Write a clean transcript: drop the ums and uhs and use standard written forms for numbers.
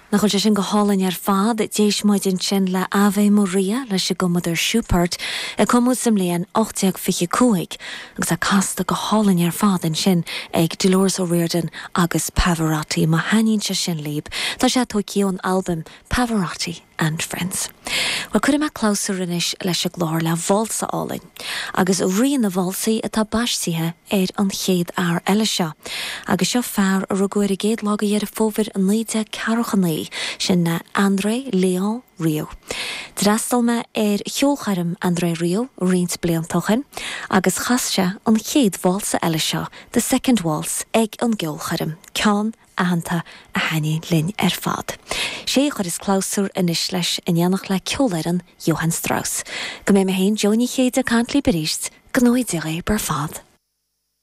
Nach bhfuil sé sin go hálainn ar fad? D'éist muid ansin le Ave Maria leis an gcumadóir Schubert, a cumadh sa mbliain 1825, agus é casta go hálainn ar fad ansin ag Dolores O'Riordan agus Pavarotti. Má thaitníonn sé sin libh, tá sé tógtha ón albam Pavarotti and Friends. Bhuel, cuirfidh mé clabhsúr anois leis an gclár le válsa álainn. Agus Rí na Válsaí atá baistithe ar an chéad fhear eile seo. Agus seo fear a rugadh ar an gcéad lá de Dheireadh Fómhair 1949, sin André Léon Rieu. D'fhreastail mé ar cheolchoirm André Rieu roinnt blianta ó shin agus chas sé an chéad válsa eile seo, The Second Waltz, ag an gceolchoirm, ceann aitheanta a thaitníonn linn ar fad. Sé a chuireas clabhsúr anois leis in éineacht le ceolfhoireann Johann Strauss. Go mbeidh mé féin, Jó Ní Chéide, ag caint libh arís, go ngnóthaí Dia dhaoibh ar fad.